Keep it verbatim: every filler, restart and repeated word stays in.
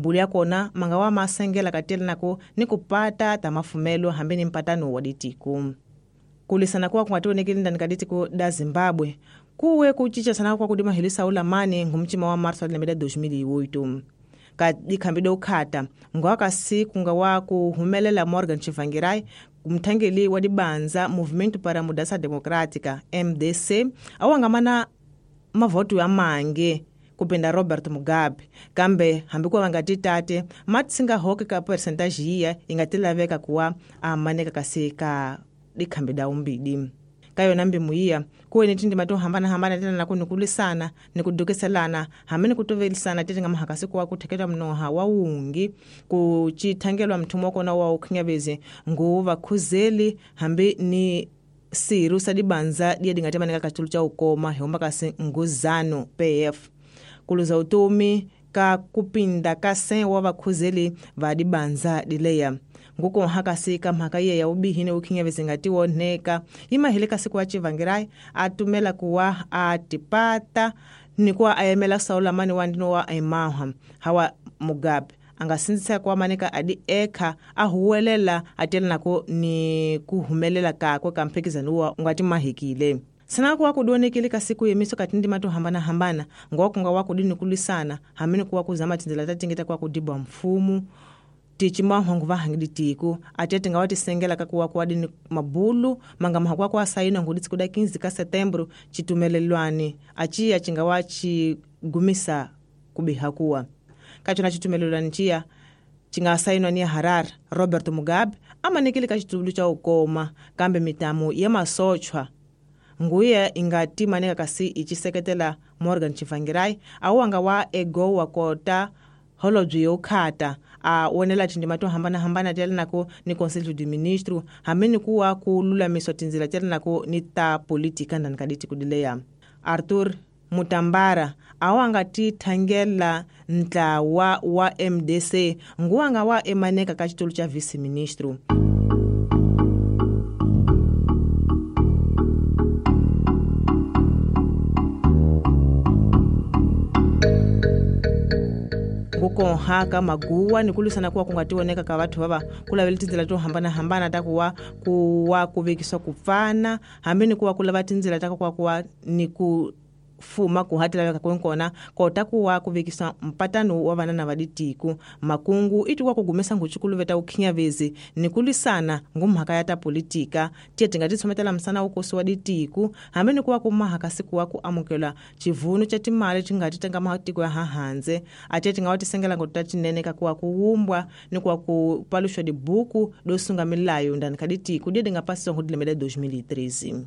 Bulu ya kona manga wa masengela katelanako ni kupata ta mafumelo hambi ni mpatano wa ditiko. Kulisana kuwa kungationekile ndani ka ditiko da Zimbabwe kuwe kuchicha sana kwa kudima hilisa ulamani ngumchima wa marso lembe dois mil e oito. Ka dikhambi ukhata ngwakasi kunga wa kuhumelela Morgan Tsvangirai mthangeli wa dibanza Movimento para Mudança Democrática M D C awangamana mavoto ya mange kupinda Robert Mugabe kambe hambi ku vanga titate matsinga hoke ka percentage yiya inga laveka kuwa amaneka kasi ka dikhambi da umbidi. Ka yona mbimu yiya kuwe ni tindima to hambana-hambana tena na kunikulisana ni kudukiselana hambi ni kutovelisana tete nga mahakasi kuwa kutheketwa mnoha wa wungi kuchithangelwa mthumo kona wa ukhinyavezi nguva khuzeli hambi ni siru sa dibanza diya dingatemanika kachulu cha ukoma hehomba kasi nguzano P F kuluza utomi ka kupinda ka cem wa vakhuzeli va dibanza dileya. Nguko hakasi ka mhaka iye ya ubihine ukhinyavezi ngati woneka imahile kasi kuwa Tsvangirai atumela kuwa atipata ni kuwa ayemela saulamani wa ndino wa emaha hawa Mugabe angasinzisa kuwa maneka adi eka ahuwelela atela nako ni kuhumelela kakwe ka mphikizano wa ngati mahikile. Sana kuwa kudonekele kasi yemiso katindi matu hambana hambana ngwa kunga wa kudini kulisana hamini kuwa kuzama tinzela tatingeta kwa kudibwa mfumu tichima hongu vahangidi tiku atete nga watisengela kakuwa kuwadini mabulu manga mahakwa kwa saina nguditsi kuda quinze ka setembro chitumelelwani achiya chinga wachigumisa kubihakuwa kachona chitumelelwani chiya chinga sainwa ni Harare Robert Mugabe amanikile kachitulu cha ukoma kambe mitamu ya masochwa nguya ingati maneka kasi ichiseketela Morgan Tsvangirai awanga wa ego wa kota holobye yokhata a wonela tindima to hambana-hambana telanako ni Conselho de Ministro hambi ni kuwa ku lulamiswa tindzila telanako ni ta politika ndani ka ditiko dileya. Arthur Mutambara awanga ti thangela ntlawa wa M D C nguwanga wa emaneka ka xitulu cha vice-ministro. Kukonhaka maguwa ni kulisana kuwa kungationeka ka vathu vava ku lavela tindzela to hambana-hambana ta kuwa kuwa ku vekiswa ku pfana hambi ni kuwa ku lava tindzela ta kuwa kuwa ni ku fuma ku hatilaveka kwenkona kota kuwa ku vekiswa mpatano wa vanana va ditiko makungu i tikuwa ku gumesa nguchukuluveta ukhinyavezi ni kulisana ngumhaka ya ta politika tiye tinga titshometela msana wukosi wa ditiko hambi ni kuwa ku mahaka siku wa ku amukela chivunu cha timali tinga ti tanga matiko ya hahandze atiye tinga wa tisengela ngota tinene ka kuwa ku wumbwa ni kuwa ku paluxwa dibuku do sunga milayo ndani ka ditiko diye dinga pasisiwa ngudilembe la dois mil e treze.